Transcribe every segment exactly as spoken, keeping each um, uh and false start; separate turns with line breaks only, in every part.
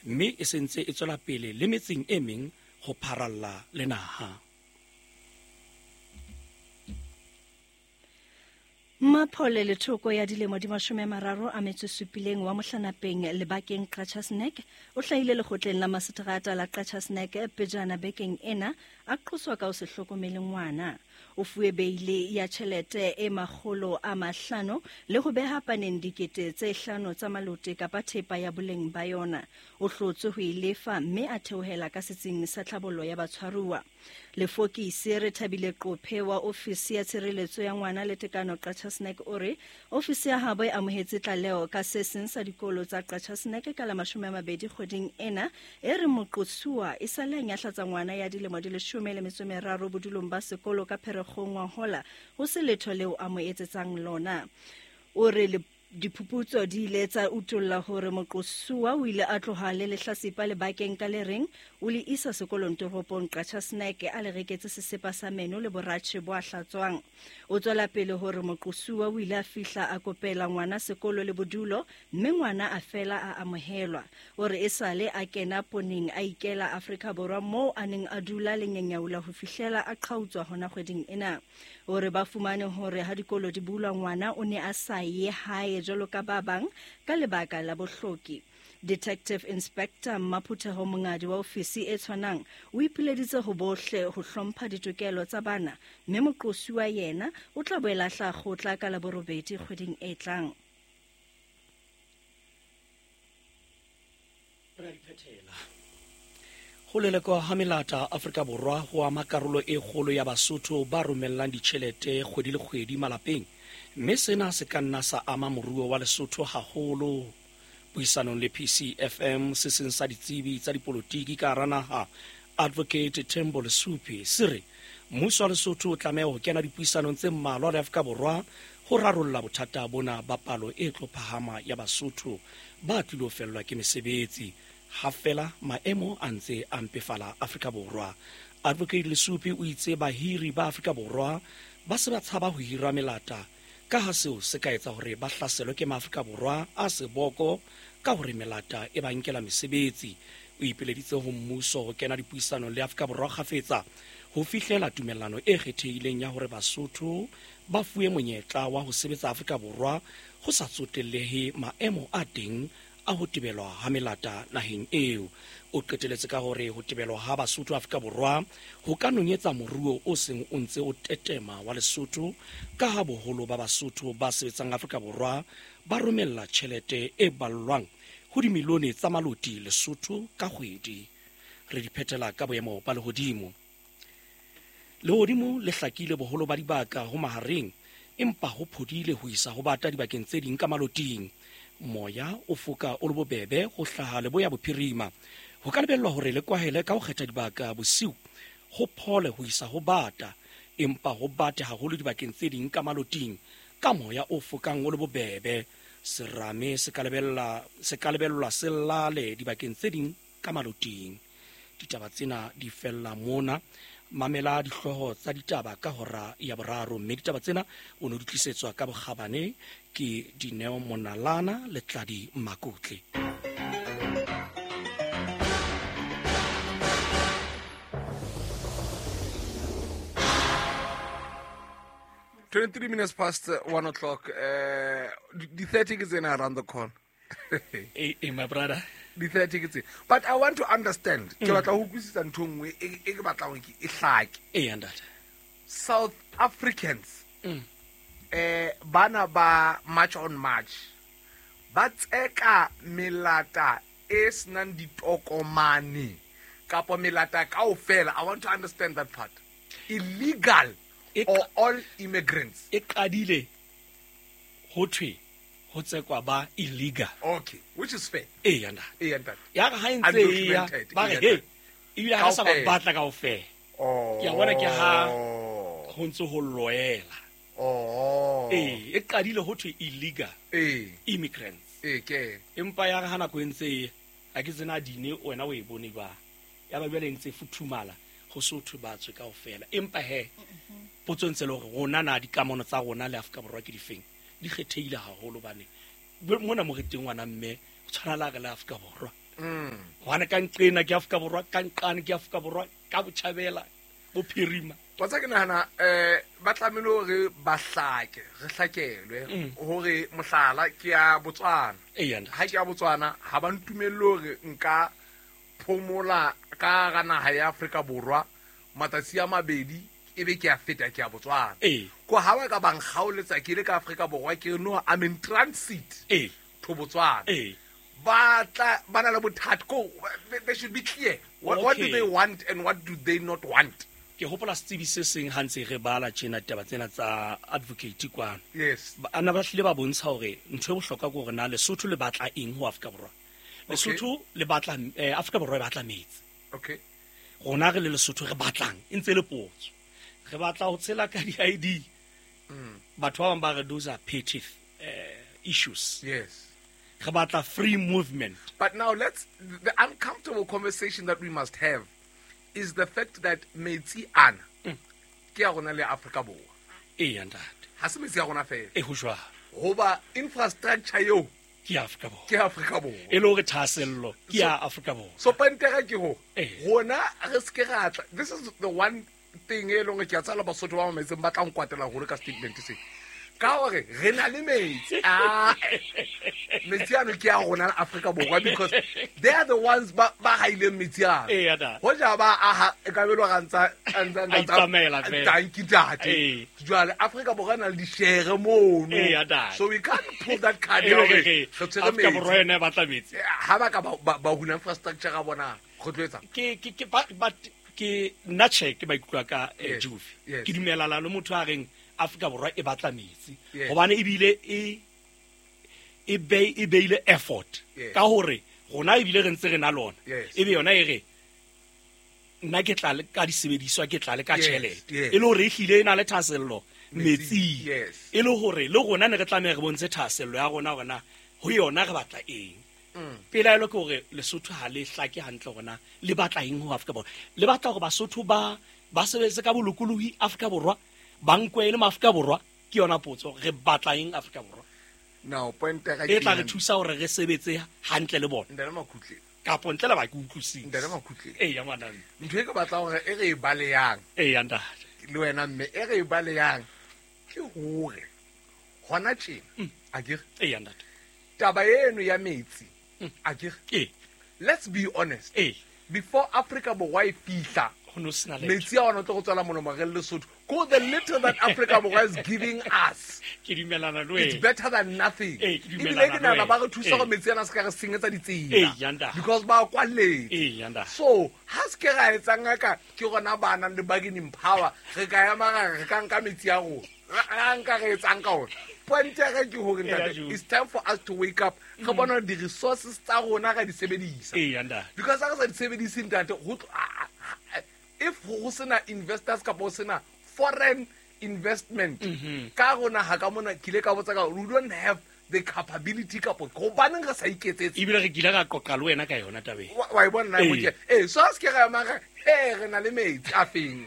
Mme e sentse e tswela pele le metseng e meng ho pharalla le naha.
Maphole Lethoko ya dilemo di mashome a mararo a metso supileng wa Mohlanapeng lebakeng Qacha's Nek o hlahile lekgotleng la maseterata la Qacha's Nek pejana bekeng ena a qoswa ka ho se hlokomele ngwana. O fuwe beile ya tjhelete e makgolo a mahlano le ho beha paneng dikete tse hlano tsa malote kapa thepa ya boleng ba yona. O hlotswe ho e lefa mme a theohela ka setsing sa tlhabollo ya batshwaruwa. Lefokisi re Thabile Qophe wa ofisi ya tshireletso ya ngwana le tekano Qacha's Nek o re ofisi ya habo e amohetse tlaleho ka se seng sa dikolo tsa Qacha's Nek ka la mashome a mabedi kgweding ena e re moqosuwa e sale a nyahlatsa ngwana ya dilemo di leshome le metso meraro bodulong ba sekolo ka Pherekgong wa hola ho se letho leo a mo etsetsang lona. O re le diphuputso di ile tsa utolla hore moqosuwa o ile a tloha le lehlasipa lebakeng ka le reng o le isa sekolong toropong Qacha's Nek a le reketse sesepa sa meno le boratjhe bo a hlatswang. O tswela pele hore moqosuwa o ile a fihla a kopela ngwana sekolo le bodulo mme ngwana a fela a amohelwa. O re esale a kena poneng a ikela Afrika Borwa moo a neng a dula le nyenyaula ho fihlela a qhautswa hona kgweding ena. O re ba fumane hore ha dikolo di bulwa ngwana o ne a sa ye hae jwalo ka ba bang ka lebaka la bohloki. Detective Inspector Maphutheho Mongadi wa ofisi e tshwanang o ipileditse ho bohle ho hlompha ditokelo tsa bana mme moqosuwa yena o tla boela hla kgotla ka la borobedi kgweding e tlang.
Re a di phethela. Ho lelekwa ha melata Afrika Borwa ho ama karolo e kgolo ya Basotho ba romellang ditjhelete kgwedi le kgwedi malapeng, mme sena se ka nna sa ama moruo wa Lesotho haholo. Puisanong le P C F M, se seng sa ditsebi tsa dipolotiki ka hara naha, Advocate Thembo Lesupi, se re mmuso wa Lesotho o tlameha ho kena dipuisanong tse mmalwa le Afrika Borwa ho rarolla bothata bona ba palo e tlo phahama ya Basotho ba tlilo fellwa ke mesebetsi ha fela maemo a ntse a mpefala Afrika Borwa. Advocate Lesupi o itse bahiri ba Afrika Borwa ba se ba tshaba ho hira melata ka ha seo se ka etsa hore ba hlaselwe ke maAfrika Borwa a seboko ka hore melata e ba nkela mesebetsi. O ipileditse ho mmuso ho kena dipuisanong le Afrika Borwa kgafetsa ho fihlela tumellano e kgethehileng ya hore Basotho ba fuwe monyetla wa ho sebetsa Afrika Borwa ho sa tsotellehe maemo a teng a ho tebelwa ha melata naheng eo. O qeteletse ka hore ho tebelwa ha Basotho Afrika Borwa ho ka nonyetsa moruo o seng o ntse o tetema wa Lesotho ka ha boholo ba Basotho ba sebetsang Afrika Borwa ba romella tjhelete e ballwang ho dimilione tsa maloti Lesotho ka kgwedi. Re di phethela ka boemo ba lehodimo. Lehodimo le hlakile boholo ba dibaka ho mahareng, empa ho phodile ho isa ho bata dibakeng tse ding ka maloting. Moya o foka o le bobebe ho hlaha leboya bophirima. Ho ka lebellwa hore le kwahele ka ho kgetha dibaka bosiu ho phole ho isa ho bata, empa ho bate haholo dibakeng tse ding ka maloting ka moya o fokang o le bobebe. Serame se ka lebella se ka lebellwa se lale dibakeng tse ding ka maloting. Ditaba tsena di fella mona. Mamela dihlooho tsa ditaba ka hora ya boraro, mme ditaba tsena o ne di tlisetswa ka bokgabane ke Dineo Monalana le Tladi Makutle.
twenty-three minutes past one o'clock. Uh, the thirty is in around the corner.
Hey, hey, my brother.
The thirty is. But I want to understand. Ke batla ho utlwisisa ntho nngwe e ke batlang ke e hlake.
Eh, ntate.
South Africans.
Mm.
Eh, bana ba March on March. Ba tseka melata e senang ditokomane kapa melata kaofela. I want to understand that part. Illegal
E
or all immigrants.
E qadile ho thwe ho tsekwa ba illegal.
Okay, which is fair.
Eh, ntate.
Eh, ntate.
Ya re ha e ntse e ya, ba re he, ebile ha re sa ba batla kaofela.
Oh.
Ke a bona ke ha ho ntse ho loela.
Oh.
Eh, e qadile ho thwe illegal.
Eh.
Immigrants.
Eh, ke.
Empa ya re ha nako e ntse e, ha ke tsena dine wena o e bone ba. Ya ba jwale e ntse futhumala ho so thwe ba tswe kaofela. Empa he, potso ntse le hore rona na dikamano tsa rona le Afrika Borwa ke difeng? Di kgethehile haholo bane mona mo re teng ngwana mme o tshwana la re le Afrika Borwa.
Mm.
Hobane ka nqena ke Afrika Borwa, ka nqane ke Afrika Borwa, ka botjhabela, bophirima.
Wa tseba ke nahana eh ba tlamehile hore ba hlake, re hlakelwe hore mohlala ke ya Botswana. Ha ke ya Botswana ha ba ntumelle hore nka phomola ka hara naha ya Afrika Borwa matsatsi a mabedi ebe ke a feta ke ya Botswana. Ko ha ba ka ba nkgaoletsa ke le ka Afrika Borwa ke re no I'm in transit to Botswana. Ba tla ba na le bothata ko they should be clear. What, what do they want and what do they not want?
Ke hopola setsebi se seng ha ntse re bala tjena taba tsena tsa advocate kwano.
Yes.
Ana ba hlile ba bontsha hore ntho e bohlokwa ke hore na Lesotho le batla eng ho Afrika Borwa. Lesotho le batla eh, Afrika Borwa e batla metsi.
Okay.
Rona re le Lesotho re batlang e ntse le potso. Re batla ho tshela ka di-I D.
Mm.
Batho ba bang ba re those are petty eh, issues.
Yes.
Re batla free movement.
But now let's the uncomfortable conversation that we must have is the fact that metsi ana
mm.
ke ya rona le Afrika Borwa.
Eh ntate.
Ha se metsi ya rona fela.
Eh ho jwalo.
Hoba infrastructure eo
ke Afrika Borwa.
Ke Afrika Borwa.
E le hore thahasello ke ya Afrika Borwa.
So pointera ke ho rona re se ke ra tla. This is the one thing e leng ke a tsala Basotho ba mametseng ba tla nkwatela haholo ka statement se. Ka hore re na le metsi. Ah, metsi ano ke ya rona Afrika Borwa because they are the ones ba ba haileng metsi ano.
Eh ada.
Hoja ba aha e ka belo ga ntsa ntsa
ntsa
thank you tate. Jwale Afrika Borwa na le di-share mono.
Eh ada.
So we can't pull that card ya hore re tshwere
Afrika
metsi.
Borwa yona e batla metsi.
Ha ba ka ba ba hula infrastructure ga bona go tlo etsa.
Ke ke ke ba ke nna check maikutlo a ka Juve. Ke dumelana le motho a reng Afrika Borwa e batla metsi. Hobane ebile e e be e beile effort ka hore rona ebile re ntse re na lona. Ebe yona e re nna ke tla le ka disebediswa ke tla le ka tjhelete. E le hore e hlile e na le thahasello metsing. E le hore le rona ne re tlameha re bontshe thahasello ya rona hore na ho yona re batla eng. Pelaelo ke hore Lesotho ha le hlake hantle hore na le batla eng ho Afrika Borwa. Le batla hore Basotho ba ba sebetse ka bolokolohi Afrika Borwa, ba nkwe le Afrika Borwa ke yona potso re batla eng Afrika Borwa.
Now point ga
e tla re thusa hore re sebetse hantle le bona.
Ntate Makhutle.
Kapo ntle le ba ke utlwisise.
Ntate Makhutle.
Eh ya ngwana.
Ntho e ke batla hore e re e baleyang.
Eh ya ntate.
Le wena mme e re e baleyang ke hore hona tjena akere.
Eh ya ntate.
Taba eno ya metsi akere.
Eh.
Let's be honest.
Eh.
Before Afrika Borwa e fihla metsi a ona tlo go tswala molomo re le Lesotho. Go the little that Africa Borwa is giving us.
Ke dumelana le wena.
It's better than nothing.
Eh, ke dumelana
le wena. Ba re thusa go metsi ana se ka re senyetsa ditsela.
Eh, yanda.
Because ba kwaletse.
Eh, yanda.
So, ha se ke ra etsang ka ke rona ba nang le bargaining power, re ka ya mara re ka nka metsi a rona. Ra nka re etsang ka ona. Point ya ka ke hore ntate, it's time for us to wake up. Re bona di resources tsa rona ra di sebedisa.
Eh, yanda.
Because ha re sa di sebedise ntate, ho if ho sena investors kapa ho sena foreign investment ka rona ha ka mona ke ile ka botsa ka we don't have the capability kapa hobaneng re sa iketsetse.
Ebile re kile ra qoqa le wena ka yona tabeng.
Wa e bona na mo ke eh so se ke ra mara he re na le metsi a feng.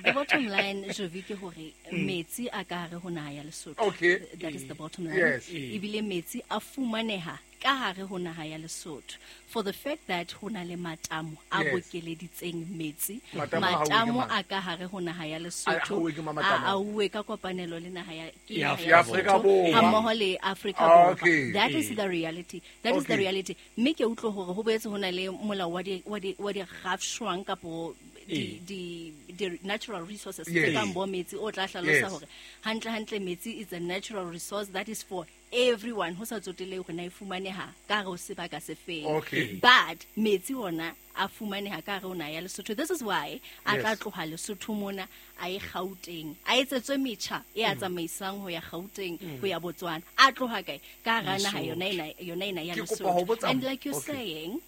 The bottom line Jovi ke hore metsi a ka hare ho naha ya Lesotho.
Okay.
That is the bottom line.
Yes.
Ebile metsi a fumaneha ka hare ho naha ya Lesotho. For the fact that ho na le matamo a bokeleditseng metsi, matamo a ka hare ho naha ya Lesotho a auwe ka kopanelo le naha ya
ya Afrika Borwa
hammoho le Afrika Borwa. That is the reality. That is the reality. Mme ke utlwe hore ho boetse ho na le molao wa di wa di wa di rafshwang kapo di di di natural resources tse kang bo metsi o tla hlalosa hore hantle hantle metsi is a natural resource that is for everyone ho sa tsotele hore na e fumaneha ka hare ho sebaka se feng.
Okay.
But metsi ona a fumaneha ka hare ho naha ya Lesotho. This is why a tla tloha Lesotho mona a ye Gauteng, a etsetswe metjha e a tsamaisang ho ya Gauteng ho ya Botswana. A tloha kae? Ka hara naha yona ena yona ena ya Lesotho. And like you're saying,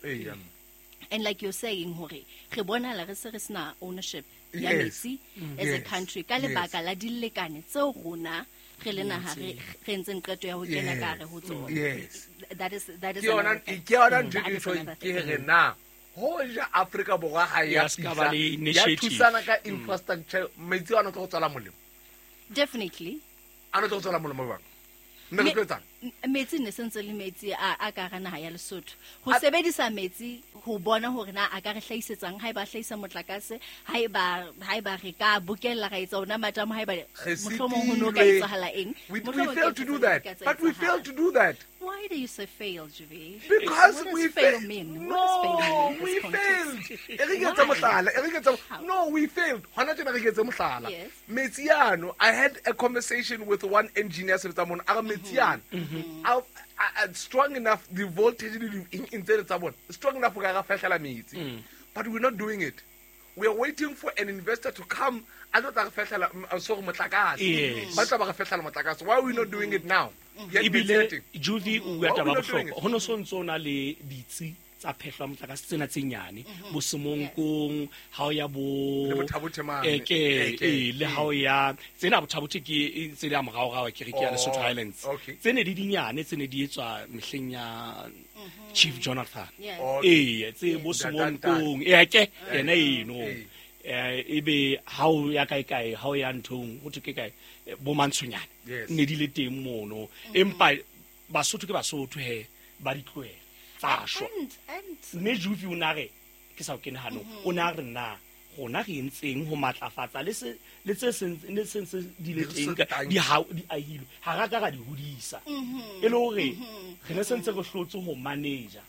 and like you're saying hore re bonahala re se re sena ownership ya metsi as a country ka lebaka la dilekane tseo rona re le naha re re ntseng qeto ya ho kena ka hare ho tsona.
Yes.
That is that is
ke yona ke yona ntho e ke ke re na hoja Afrika Borwa ha ya
fihla
ya thusana ka infrastructure metsi ana tlo tswala molemo.
Definitely.
Ana tlo tswala molemo bang. Mme re tlo etsang?
Metsi ne sentse le metsi a a ka hara naha ya Lesotho. Ho sebedisa metsi ho bona hore na a ka re hlahisetsang ha eba hlahisa motlakase ha eba ha eba re ka bokella ra etsa ona matamo ha eba mohlomong ho no ka etsahala eng.
We, we failed to do that. But we failed to do that.
Why do you say fail, Juvi?
Because
what does
we
fail
fa-
mean?
No,
what does fail mean
we failed. No, we failed.
Yes.
Metsiano, I had a conversation with one engineer, mm-hmm. I, I, strong enough, the voltage in in strong enough, mm. but we're not doing it. We are waiting for an investor to come. I don't
Yes.
Why are we not doing it now?
Ebile Juvi o bua taba bohlokwa ho no sontso na le ditsi tsa phehlo motlakase tsena tse nyane bo Semonkong ha o ya bo ke e le ha o ya tsena Bothabothe ke tse di a morao rao ke re ke ya Lesotho Highlands tsene di dinyane tsene di etswa mehleng ya Chief Jonathan e tse bo Semonkong e ke yena eno ebe ha o ya kae kae ha o ya nthong ho thwe ke kae bo Mantshonyane ne di le teng mono empa Basotho ke Basotho he ba di tlohela tsa shwa mme Juvi o na re ke sa o kene hanong o na re na rona re entseng ho matlafatsa le se le tse seng le seng se di le teng di ha di ahilwe ha ra ka ra di hodisa e le hore re ne sentse re hlotse ho manager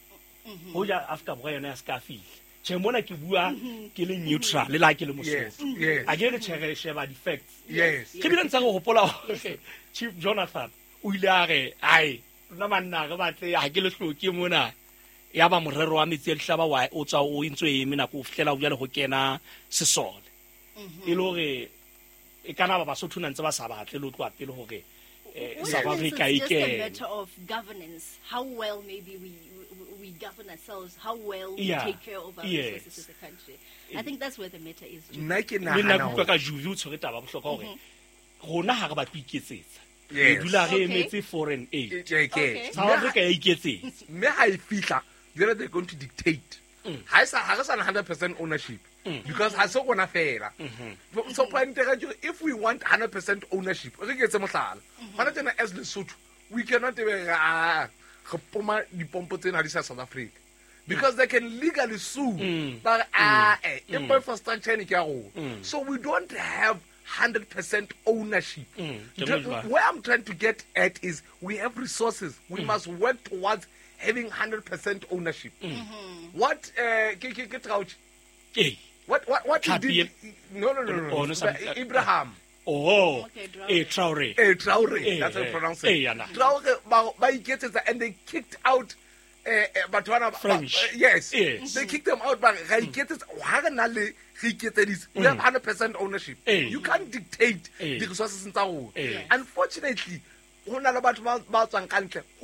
ho ja Afrika Borwa yona ya ska fihla. Che mona ke bua ke le neutral le la ke le Mosotho a ke re tjhere sheba di facts.
Yes.
Ke bile ntse re hopola hore Chief Jonathan o ile a re ai nna manna re batle ha ke le hloke mona ya ba morero wa metsi a dihlaba wa o tswa o entse e eme nako o fihlela o jale ho kena sesole e le hore e kana ba Basotho na ntse ba sa batle le tloa pele hore South Africa
it's just a matter of governance, how well maybe we we govern ourselves, how well we
yeah.
take care of our
yes.
resources as a country. I think that's where the matter is.
Nna ke
nna ke ka Juvi o tshwere taba bohlokwa hore rona ha re batle iketsetsa re dula re emetse foreign aid.
Okay.
South Africa ya iketsetsa
mme ha e fihla jwale they're going to dictate. Ha e sa ha re sa one hundred percent ownership because ha se rona fela. So point if we want one hundred percent ownership re ke etse mohlala hona tjena as Lesotho we cannot even ah re poma dipompo tsena di sa South Africa because they can legally sue but ah eh infrastructure ne ke ya rona. So we don't have one hundred percent ownership. Mm. Where I'm trying to get at is we have resources. We mm. must work towards having one hundred percent ownership.
Mm.
Mm-hmm.
What, uh, ke, ke, ke Traoré?
Hey.
What, what, what he did? No, no, no, no.
Oh, no,
Ibrahim.
Oh,
okay,
eh, Traoré.
Eh, Traoré.
Eh,
That's how you
eh,
pronounce it.
Eh, yeah,
Traoré, ba, ba iketsetsa, and they kicked out uh, Batwana.
French.
Uh, yes.
Yes.
They kicked them out. But we have one hundred percent ownership.
Eh.
You can't dictate
eh.
the resources in our
eh.
Unfortunately, who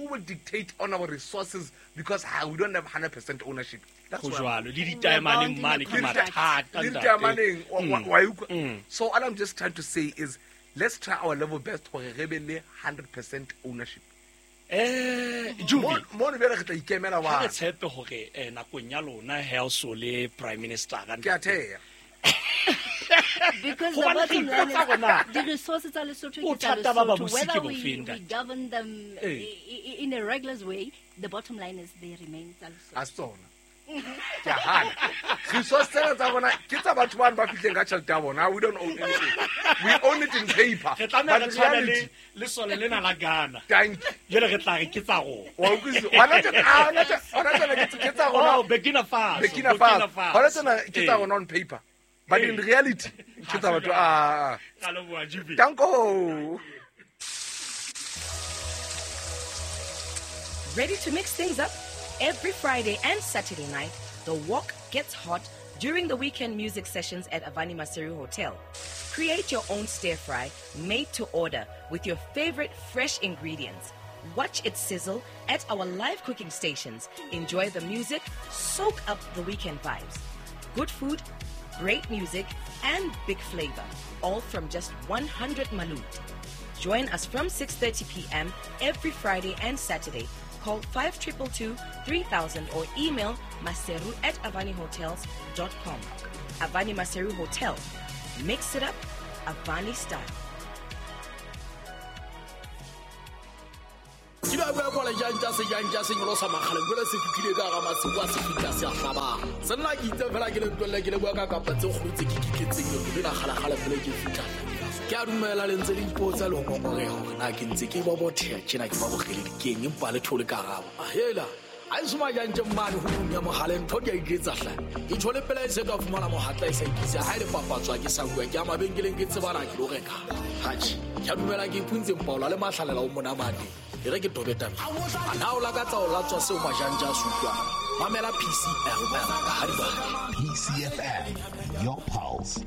will dictate on our resources because we don't have one hundred percent ownership. That's why. So all I'm just trying to say is let's try our level best for a one hundred percent ownership.
Eh, Juvi.
Mo re re tla ikemela wa.
Ha re tshepe hore nakong ya lona ha o so le Prime Minister ka
Ke a theya.
Because the bottom line is the resources are Lesotho, Lesotho. Whether we, we govern them in a regular way, the bottom line is they remain Lesotho.
A tsona. Ke a hana. Resources tsena tsa bona ke tsa batho ba ba fihleng ka tjhelete ya bona. We don't own anything. We own it in paper.
Re tlameha re tshwane le lesole lena la Ghana.
Thank you.
Jwale re tla re ke tsa rona.
Wa utlwisisa? Hona tjena, hona tjena ke tsa rona.
Oh, Burkina Faso.
Burkina Faso. Hona tjena ke tsa rona on paper. But in reality, ke tsa batho ah. Danko.
Ready to mix things up? Every Friday and Saturday night, the walk gets hot during the weekend music sessions at Avani Maseru Hotel. Create your own stir fry made to order with your favorite fresh ingredients. Watch it sizzle at our live cooking stations. Enjoy the music, soak up the weekend vibes. Good food, great music, and big flavor, all from just one hundred malut. Join us from six thirty p.m. every Friday and Saturday. Call five two two two, three thousand or email maseru at avani hotels dot com. Avani Maseru Hotel. Mix it up, Avani style.
Ke ba bua kwa lejantja sejantja se nyolosa makgaleng jwale se fihlile ka hara masiu a se fihla se a hlabang. Senna ke itse fela ke le ntwelle ke le bua ka kapa tse kgolo tse ke kitletseng leeto lena kgalekgale pele ke fihla. Ke a dumela le ntse le ipotsa le ho ngongoreha hore na ke ntse ke bobotheha tjena ke ba bokgeledi keng empa le thole karabo. Ahela a e soma jantje mane ho ya mohale ntho di a iketsa hle. Ke tjhole pela e se ka fumana mohatla e sa ikisa ha ile papatswa ke sa bua ke a mabenkeleng ke tsebana ke lo reka. Hatjhe, ke a dumela ke ipuntse mpaola le mahlalela o monamane. E re ke tobe tabeng. A na o lakatsa ho latswa seo majantja a se utlwang? Mamela P C F M ka ha di batla.
P C F M, your pulse.